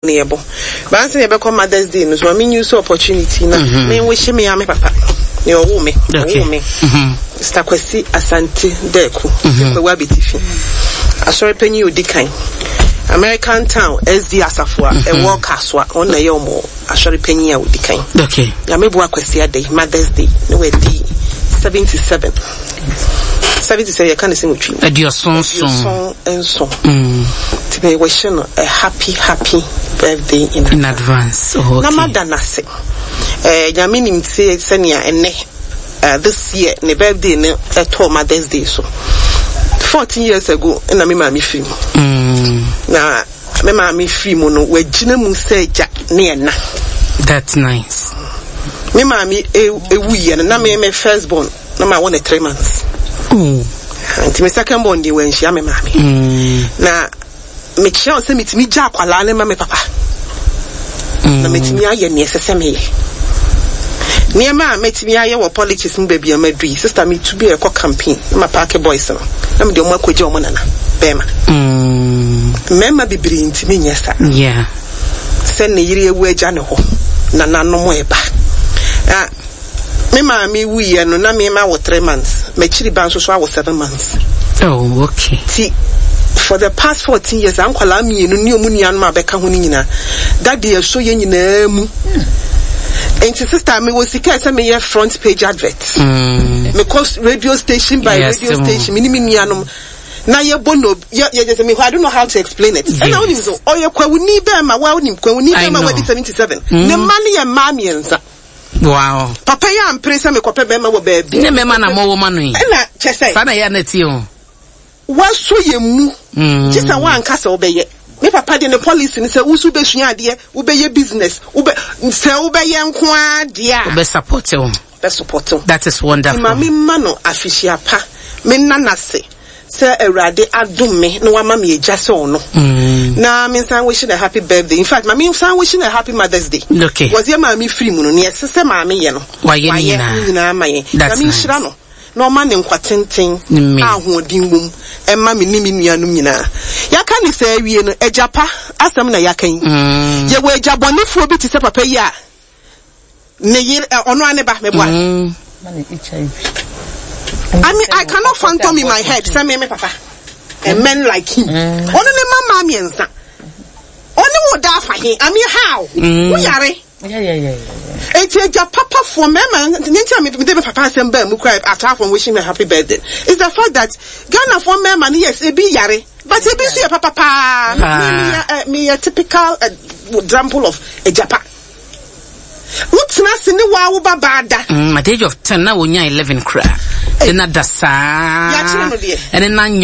Na yɛbɔ. But ansa na yɛbɛkɔ Mother's Day no so, ma me use opportunity na mm-hmm. me wish me ame papa. Nea ɔwoo me, ɔwoo me. Mm-hmm. Mr. Kwasi Asante Dɛko, mm-hmm. Kwawu Abetifi. Asɔre panyin odi kan. American Town SD Asafo a ɛwɔ Kasoa, wɔn na ɛyɛ wɔn asɔre panyin a odi kan. Okay. Nyame boa Kwasi Adei, Mother's Day, na wadi 77. 77 yɛka ne sɛ nwɔtwe. 77. 77. Nti me wish no a happy happy birthday in, in advance. Oh, okay. Na mada n'ase. Eh, Nyame nim te sɛnea ɛnɛ this year ne birthday no ɛtɔɔ Mother's Day so. 14 years ago na me maame firi mu. Na me maame firi mu no wagyina mu sɛ agya ne ɛna. That's nice. Me maame ewuiɛ no na me me first born na ma wɔ ne 3 months. Oh. Nti me second born deɛ wanhyia me maame. Na mekyerɛ wo sɛ metumi gya akwalaa ne ma me papa. Na metumi ayɛ nea ɛsɛ sɛ meyɛ. Nneɛma a mɛtumi ayɛ wɔ politics mu baabi a madu yi, sister, metu bi a ɛkɔ campaign na ma park boys no na mede ɔmo akɔgya ɔmo nana bɛrima. Mmarima bebree ntumi nyɛ saa. Sɛ ne yere awu agya ne hɔ, nananom ɛba. Ah, me maame wuiɛ no na me ma wɔ 3 months, m'akyiri ba nso so awɔ 7 months. Oh, okay. Ti for the past 14 years, ankwalaa mmienu ne ɔmo nuanom a bɛka ho no nyinaa, daddy ɛso yɛ nyinaa mu. Nti sister, mewɔ sika sɛ meyɛ front page advert. Mekɔ radio station by radio station, me ne me nuanom na yɛbɔ no yɛ yɛ sɛ me, I don't know how to explain it. Ɛna wonim so ɔyɛ kwawuni bɛrima wa, wonim kwawuni bɛrima wadi 77, ne mma no yɛ mmaa mmiɛnsa. Papa yi ampere sɛ mekɔpɛ bɛrima wɔ baabi. Ne mmarima na mɔwɔ ma no yi. Ɛna kyɛ sɛ saa na ɛyɛ na ɛtie o. Wasɔ yɛn mu. Gye sɛ woanka sɛ wobɛyɛ. Me papa de ne policy ne sɛ woso bɛsua adeɛ, wobɛyɛ business, wobɛ sɛ wobɛyɛ nko ara deɛ a. Wobɛ support wo. Bɛ support wo. That is wonderful. Ma me ma no afihyia pa, me nna n'ase sɛ Awurade adom me na wama me agya sɛ ɔno. Na me nsan wish no a happy birthday. In fact, ma me nsan wish no a happy Mother's Day. Because yɛ maame firi mu no, nea ɛsɛ sɛ maame yɛ no, wayɛ ne nyinaa. Ne nyinaa ma yɛn. That's Na me nhyira nice. no na ɔma ne nkwa tenten a ahoɔden wom ɛma me ne me nuanom nyinaa. Yɛaka ne sɛ awie no, agya pa asɛm na yɛaka yi. Yɛwɔ agya bɔnefoɔ bi te sɛ papa yi a ne yere ɔno ara ne ba meboa. I mean, I cannot phantom in my head sɛ me papa and men like him. Ɔno ne mma mmaa mmiɛnsa. Ɔne wo da afa he? I mean, how? Wo yare. Eti agya papafoɔ mmarima ne nti a mede me papa asɛm baa mu kora apart from wishing me a happy birthday is the fact that Ghanafoɔ mmarima no, yes, ebi yare, but ebi nso yɛ papa paa. Me meyɛ typical example of agya pa. Wotena ase ne waa wo ba baa da. At the age of 10 na wonya 11 koraa. Ɛna da saa. Yɛakyerɛ no deɛ. Ɛne na nyim.